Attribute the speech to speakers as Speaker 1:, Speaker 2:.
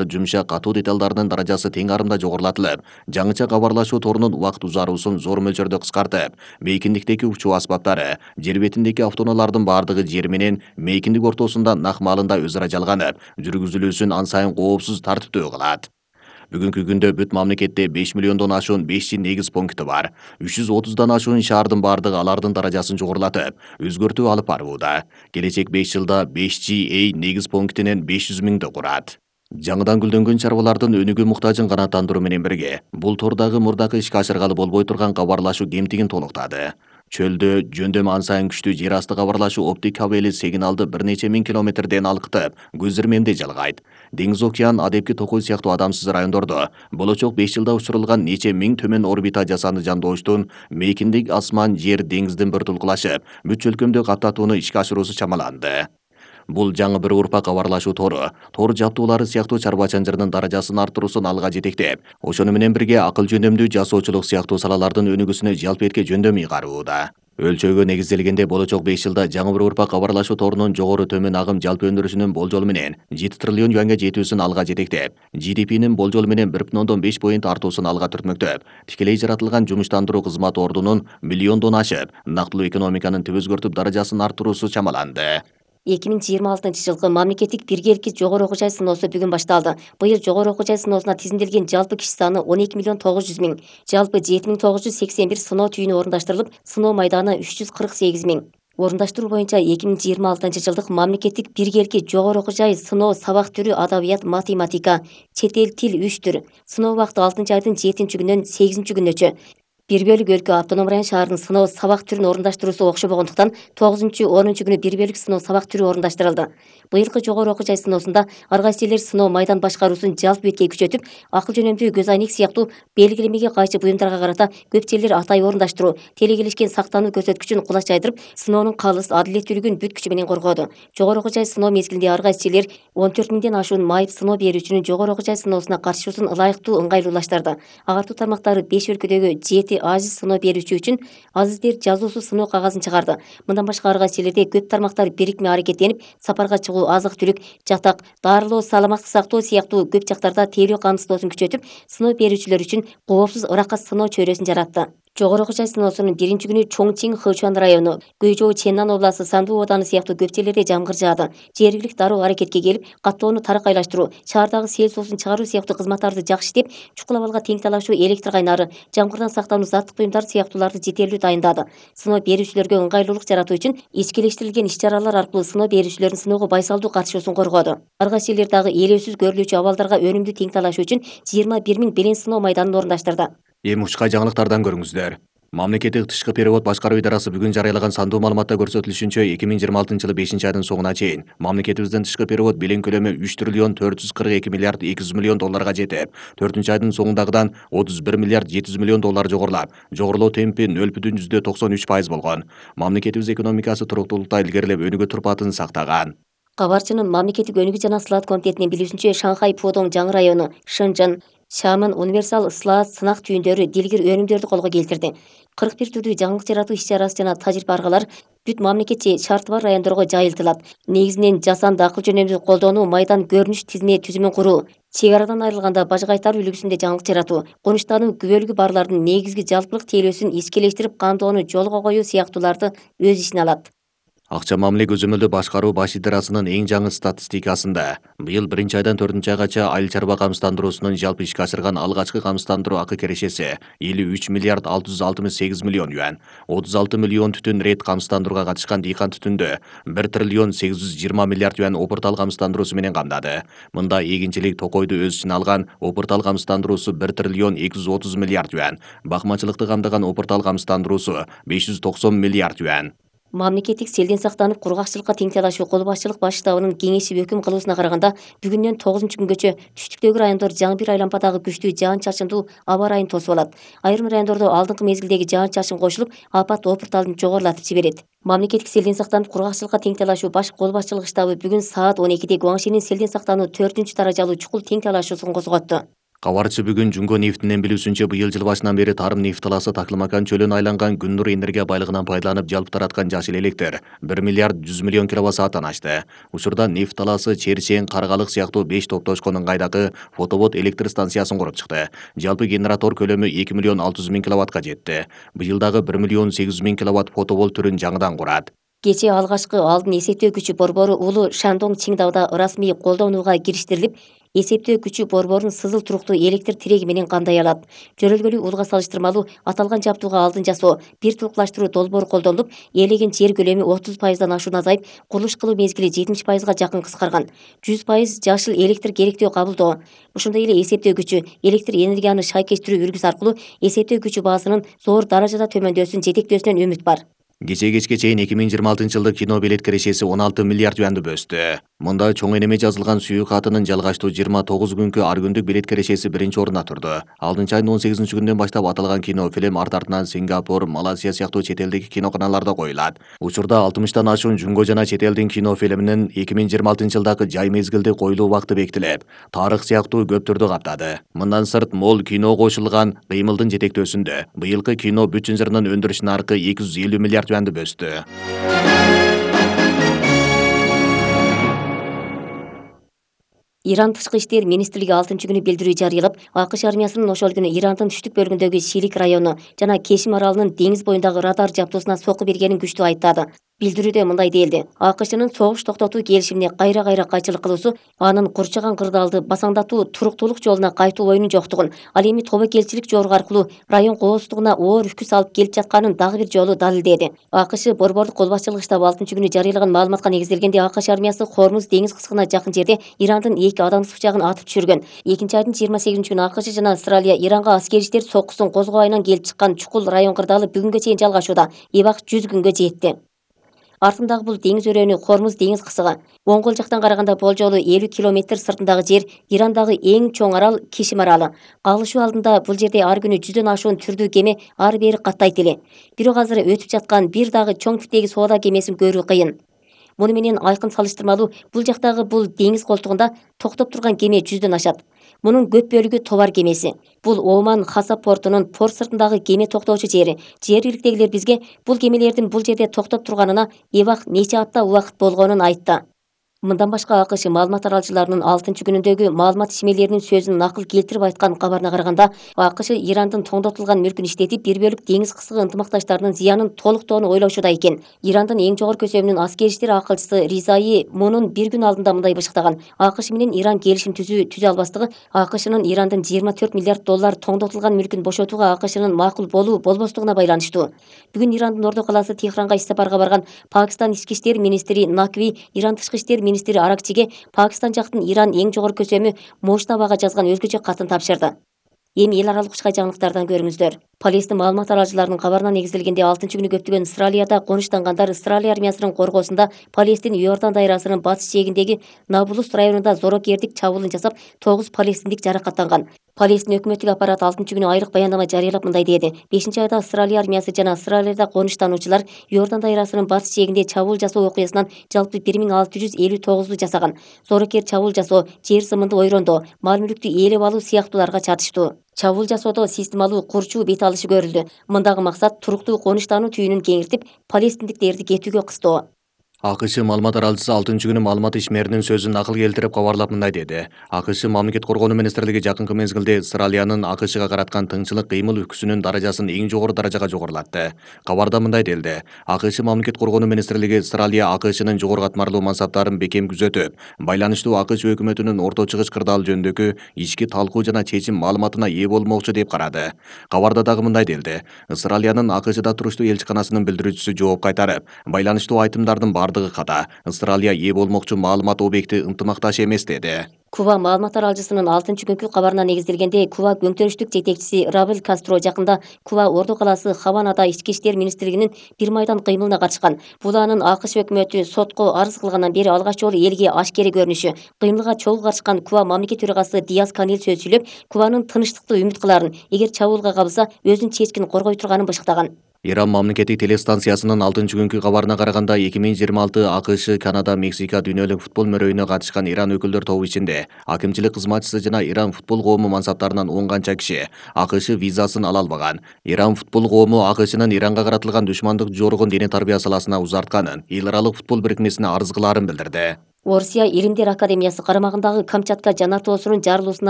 Speaker 1: жумшак катуу деталдарынын даражасы тең арымда жогорулатылып, жаңыча кабарлашуу торунун убакыт узаруусун зор мөлчөрдө кыскартып, мейкиндиктеги учуу аспаптары, жер бетиндеги автоунаалардын бардыгы жер менен мейкиндик ортосунда нак маалында өз ара жалганып, жүргүзүлүүсүн ан сайын коопсуз тартиптүү кылат. Бүгүнкү күндө бүт мамлекетте 5 миллиондон ашуун 5G негиз пункти бар. 330дан ашуун шаардын бардыгы алардын даражасын жогорулатып, өзгөртүү алып барууда. Келечек 5 жылда 5G негиз пунктинин 500 миңди курат. Жаңыдан гүлдөнгөн чарбалардын өнүгүү муктажын канааттандыруу менен бирге, бул тордагы мурдакы ишке ашыргалы болбой турган кабарлашуу кемтигин толуктады. Чөлдө жөндөмү ан сайын күчтүү жер асты кабарлашуу оптик кабели сигналды бир нече миң километрден алкытып, көз ирмемде жалгайт. Деңиз океан, Адепки Токой сыяктуу адамсыз райондордо болочок 5 жылда учурулган нече миң төмөн орбита жасанды жандооштун мейкиндик асман жер деңиздин биртулкулашып, бүт чөлкөмдү каптатууну ишке ашыруусу чамаланды. Бул жаңы бир урпак кабарлашуу тору, тор жабдуулары сыяктуу чарба чанжырынын даражасын арттыруусун алга жетектеп, ошону менен бирге акыл жөндөмдүү жасоочулук сыяктуу салалардын өнүгүүсүнө жалпетке жөндөм ыйгарууда. Өлчөөгө негизделгенде болочок 5 жылда жаңы бир урпак кабарлашуу торунун жогору төмөн агым жалпы өндүрүшүнүн болжолу менен 7 триллион юанга жетүүсүн алга жетектеп, GDP'нин болжолу менен 1,5 поинт артуусун алга түртмөктөп, тикелей жаратылган жумуштандыруу кызмат ордунун миллиондон ашып, нактылуу экономиканын түп өзгөртүп даражасын арттыруусу чамаланды.
Speaker 2: 2026-жылкы мамлекеттик биргеликти жогору окуу жай сыноосу бүгүн башталды. Быйыл жогору окуу жай сыноосуна тизимделген жалпы киши саны 12 миллион 900 миң. Жалпы 7981 сыноо түйүнү орундаштырылып, сыноо майданы 348 миң. Орундаштыруу боюнча 2026-жылдык мамлекеттик биргеликти жогору окуу жай сыноо сабак түрү адабият, математика, чет эл тил 3 түр. Сыноо убакыты 6-айдын 7-күнүнөн 8-күнөчө. Бир бөлүк өлкө автоном район шаарынын сыноо сабак түрүн орундаштыруусу окшобогондуктан 9-10 күнү бир бөлүк сыноо сабак түрү орундаштырылды. Быйылкы жогору окуу жай сыноосунда ар кайсы элдер сыноо майдан башкаруусун жалпы бетке күчөтүп, акыл жөнөмдүү көз айнек сыяктуу белгилемеге кайчы буюмдарга карата көпчелер атай орундаштыруу, телегелешкен сактануу көрсөткүчүн кулач жайдырып, сыноонун калыс, адилеттүүлүгүн бүт күчү менен коргоду. Жогору окуу жай сыноо мезгилинде ар кайсы элдер 14 миңден ашуун майып сыноо берүүчүнүн жогору окуу жай сыноосуна катышуусун ылайыктуу ыңгайлуулаштырды. Агартуу тармактары 5 өлкөдөгү 7 ажиз сыноо берүүчү үчүн азиздер жазуусу сыноо кагазын чыгарды. Мындан башка ар кайсы элдерде көп тармактар бирикме аракеттенип, сапарга чыгуу, азык-түлүк, жатак, дарылоо, саламаттык сактоо сыяктуу көп жактарда тейлөө камсыздоосун күчөтүп, сыноо берүүчүлөр үчүн коопсуз ыракка сыноо чөйрөсүн жаратты. Жогору окуу жай сыноосунун биринчи күнү Чоңчиң, Хычуан району, Гуйжоу, Ченнан областы, Санду ооданы сыяктуу көп жерлерде жамгыр жаады. Жергиликтүү дароо аракетке келип, каттоону таракайлаштыруу, шаардагы сел суусун чыгаруу сыяктуу кызматтарды жакшы иштеп, чукул абалга тең талашуу, электр кайнары, жамгырдан сактануу заттык буюмдар сыяктууларды жетерлүү дайындады. Сыноо берүүчүлөргө ыңгайлуулук жаратуу үчүн ичкилештирилген иш-чаралар аркылуу сыноо берүүчүлөрдүн сыноого байсалдуу катышуусун коргоду. Ар кайсы элдер дагы элөөсүз көрүлүүчү абалдарга өнүмдүү тең талашуу үчүн 21 миң белен сыноо майданын орундаштырды.
Speaker 1: Эми ушка жаңылыктардан көрүңүздөр. Мамлекеттик тышкы перевод башкаруу идарасы бүгүн жарыялаган сандуу маалыматта көрсөтүлүшүнчө 2026-жылы 5-айдын соңуна чейин мамлекетибизден тышкы перевод белең көлөмү 3 триллион 442 миллиард 200 миллион долларга жетип, 4-айдын соңундагыдан 31 миллиард 700 миллион доллар жогорулап, жогорулоо темпи 0,93% болгон. Мамлекетибиз экономикасы туруктуулукта илгерилеп өнүгүү турпатын сактаган.
Speaker 2: Кабарчынын мамлекеттик өнүгүү жана сылаат комитетинин билүүсүнчө, Шанхай Пудong жаңы району, Шэньчжэн, Шамын универсал сылаат сынак түйүндөрү дилгир өнүмдөрдү колго келтирди. 41 түрдүү жаңылык жаратуу иш-чарасы жана тажрыйба аркалар бүт мамлекетчи шарты бар райондорго жайылтылат. Негизинен жасанды акыл жөнөмдүү колдонуу, майдан көрүнүш тизме түзүмүн куруу, чек арадан айрылганда бажы кайтаруу үлгүсүндө жаңылык жаратуу, конуштануу күбөлүгү барлардын негизги жалпылык тейлөөсүн ичкилештирип кандоону жолго коюу сыяктууларды өз ичине алат.
Speaker 1: Акча мамиле көзөмөлдөө башкаруу баш идарасынын эң жаңы статистикасында быйыл 1-айдан 4-айгача айыл чарба камсыздандыруусунун жалпы ишке ашырган алгачкы камсыздандыруу акы кирешеси 53 миллиард 668 миллион юан, 36 миллион түтүн рет камсыздандырууга катышкан дыйкан түтүндө 1 триллион 820 миллиард юан опуртал камсыздандыруусу менен камдады. Мында эгинчилик токойду өз ичине алган опуртал камсыздандыруусу 1 триллион 230 миллиард юан, бакмачылыкты камдаган опуртал камсыздандыруусу 590 миллиард юан.
Speaker 2: Мамлекеттик селден сактанып, кургакчылыкка тең талашуу кол башчылык баш штабынын кеңешип өкүм кылуусуна караганда, бүгүндөн 9-күнгөчө түштүктөгү райондор жаңы бир айлампадагы күчтүү жаан-чачындуу аба ырайын тосуп алат. Айрым райондордо алдыңкы мезгилдеги жаан-чачын кошулуп, апат опурталын жогорулатып жиберет. Мамлекеттик селден сактанып, кургакчылыкка тең талашуу баш кол башчылык штабы бүгүн саат 12-де Гуаңшинин селден сактануу 4-даражалуу чукул тең талашуусун козготту.
Speaker 1: Кабарчы бүгүн Жумго нефтинен билүүсүнчө быйыл жыл башынан бери тарым нефт талаасы Таклымакан чөлүнө айланган Күн-Нур энергия байлыгынан пайдаланып жалпы тараткан жашыл электр 1 миллиард 100 миллион киловатт-сааттан ашты. Учурда нефт талаасы Черчен, Каргалык сыяктуу 5 топтошконун ыңгайдагы фотовод электр станциясын куруп чыкты. Жалпы генератор көлөмү 2 миллион 600 миң киловаттка жетти. Быйыл дагы 1 миллион 800 миң киловатт фотовол түрүн жаңыдан курат.
Speaker 2: Кечээ алгачкы алдын эсептөө күчү борбору Улуу Шандong Чиңдауда расмий колдонууга кириштирилип, эсептөө күчү борборун сызыл туруктуу электр тиреги менен кандай алат. Жөрөлгөлүү улга салыштырмалуу аталган жабдууга алдын жасоо, бир турукташтыруу долбоору колдонулуп, ээлеген жер көлөмү 30%дан ашуун азайып, курулуш кылуу мезгили 70%га жакын кыскарган. 100% жашыл электр керектөө кабылдоо. Ошондой эле эсептөө күчү, электр энергияны шайкештирүү үлгүсү аркылуу эсептөө күчү баасынын зор даражада төмөндөсүн жетектөөсүнөн үмүт бар.
Speaker 1: Кече чейин 2026-жылдык кино билет кирешеси 16 миллиард юанды бөстү. Мында чоң энеме жазылган сүйүү катынын жалгаштуу 29 күнкү ар күндүк билет кирешеси биринчи орунда турду. Алдынчы айдын 18-күндөн баштап аталган кино фильм артынан Сингапур, Малайзия сыяктуу чет элдеги киноканаларда коюлат. Учурда 60тан ашуун Жумго жана чет элдин кино фильминин 2026-жылдагы жай мезгилде коюлуу убакыты бекитилип, тарых сыяктуу көп түрдү каптады. Мындан сырт мол кино кошулган кыймылдын жетектөөсүндө быйылкы кино бүт жырынын өндүрүш наркы 250 миллиард юанды бөстү.
Speaker 2: Иран тышкы иштер министрлиги 6-күнү билдирүү жарыялап, АКШ армиясынын ошол күнү Ирандын түштүк бөлүгүндөгү Шилик району жана Кешим аралынын деңиз боюндагы радар жабдуусуна сокку бергенин күчтүү айыптады. Билдирүүдө мындай делди: АКШнын согуш токтотуу келишимине кайра кайчылык кылуусу анын курчаган кырдаалды басаңдатуу туруктуулук жолуна кайтуу оюнун жоктугун, ал эми тобокелчилик жоругу аркылуу район коопсуздугуна оор үкү салып келип жатканын дагы бир жолу далилдеди. АКШ борбордук кол башчылык штабы 6-күнү жарыялаган маалыматка негизделгенде АКШ армиясы Хормуз деңиз кыскына жакын жерде Ирандын 2 адамсыз пычагын атып түшүргөн. 2-айдын 28-күнү АКШ жана Австралия Иранга аскери иштер соккусун козгобайынан келип чыккан чукул район кырдаалы бүгүнгө чейин жалгашууда. Эбак 100 күнгө жетти. Артындагы бул деңиз өрөөнү Хормуз деңиз кысыгы. Оңгол жактан караганда болжолу 50 километр сыртындагы жер Ирандагы эң чоң арал Кешим аралы. Кагылышуу алдында бул жерде ар күнү 100дөн ашуун түрдүү кеме ары бери каттайт эле. Бирок азыр өтүп жаткан бир дагы чоң типтеги соода кемесин көрүү кыйын. Муну менен айкын салыштырмалуу бул жактагы бул деңиз колтугунда токтоп турган кеме 100дөн ашат. Мунун көп бөлүгү товар кемеси. Бул Оман Хасап портунун порт сыртындагы кеме токтоочу жери. Жергиликтегилер бизге бул кемелердин бул жерде токтоп турганына эбак нече апта убакыт болгонун айтты. Мындан башка АКШ маалымат таралчыларынын 6-күнүндөгү маалымат ишмерлеринин сөзүн накыл келтирип айткан кабарына караганда, АКШ Ирандын тоңдотулган мүлкүн иштетип, бир бөлүк деңиз кысыгы ынтымакташтарынын зыянын толуктоону ойлошууда экен. Ирандын эң жогорку көсөмүнүн аскери иштер акылчысы Ризаи мунун бир күн алдында мындай бышыктаган: АКШ менен Иран келишим түзө албастыгы АКШнын Ирандын 24 миллиард доллар тоңдотулган мүлкүн бошотууга АКШнын макул болуу болбостугуна байланыштуу. Бүгүн Ирандын ордо калаасы Техранга иш сапарга барган Пакистан ички иштер министри Накви Иран тышкы иштер министри Аракчиге Пакистан жактын Иран эң жогорку көсөмү Муштабага жазган өзгөчө катын тапшырды. Эми эл аралык учкай жаңылыктардан көрүңүздөр. Полистин маалымат таралчыларынын кабарына негизделгенде 6-күнү көптөгөн Австралияда конуштангандар Австралия армиясынын коргоосунда Палестин Иордан дайрасынын батыш жээгиндеги Набулус районунда зорокердик чабуулун жасап, 9 палестиндик жаракаттанган. Палестин өкмөттүк аппарат 6-күнү айрык баяндама жарыялап мындай деди: 5-айда Австралия армиясы жана Австралияда конуштануучулар Иордан дайрасынын батыш жээгинде чабуул жасоо окуясынан жалпы 1659 жасаган. Зорокер чабуул жасоо, жер сымынды ойрондоо, мал мүлктү ээлеп алуу сыяктууларга чатыштуу. Чабуул жасоодо системалуу курчуу бет алышы көрүлдү. Мындагы максат туруктуу конуштануу түйүнүн кеңиртип, палестиндиктерди кетүүгө кыстоо.
Speaker 1: АКШ маалымат таралчысы 6-күнү маалымат ишмеринин сөзүн накыл келтирип кабарлап мындай деди: АКШ мамлекет коргонуу министрлиги жакынкы мезгилде Австралиянын АКШга караткан тыңчылык кыймыл үкүсүнүн даражасын эң жогору даражага жогорулатты. Кабарда мындай делди: АКШ мамлекет коргонуу министрлиги Австралия АКШнын жогору катмарлуу мансаптарын бекем күзөтүп, байланыштуу АКШ өкмөтүнүн орто чыгыш кырдаал жөнүндөгү ички талкуу жана чечим маалыматына ээ болмокчу деп карады. Кабарда дагы мындай делди: Австралиянын АКШда туруштуу элчиканасынын билдирүүчүсү жооп кайтарып, байланыштуу айтымдардын бардыгы ката. Австралия ээ болмокчу маалымат объекти ынтымакташ эмес деди. Куба маалымат таралчысынын 6-күнкү кабарына негизделгенде, Куба көңтөрүштүк жетекчиси Рабель Кастро жакында Куба ордо калаасы Хаванада ички иштер министрлигинин бир майдан кыймылына катышкан. Бул анын АКШ өкмөтү сотко арыз кылгандан бери алгач жолу элге ашкере көрүнүшү. Кыймылга чогуу катышкан Куба мамлекет төрагасы Диас Канел сөз сүйлөп, Кубанын тынчтыкты үмүт кыларын, эгер чабуулга кабылса өзүн чечкин коргой турганын бышыктаган. Иран мамлекеттик телестанциясынын 6-күnkү кабарына караганда 2026 АКШ, Канада, Мексика дүйнөлүк футбол мөрөйүнө катышкан Иран өкүлдөр тобу ичинде акимчилик кызматчысы жана Иран футбол коому мансаптарынан 10 канча киши АКШ визасын ала албаган. Иран футбол коому АКШнын Иранга каратылган душмандык жоругун диний тарбия саласына узартканын, эл аралык футбол бирикмесине арыз кылаарын билдирди.
Speaker 2: Орусия Илимдер академиясы карамагындагы Камчатка жанартоосунун жарылуусуна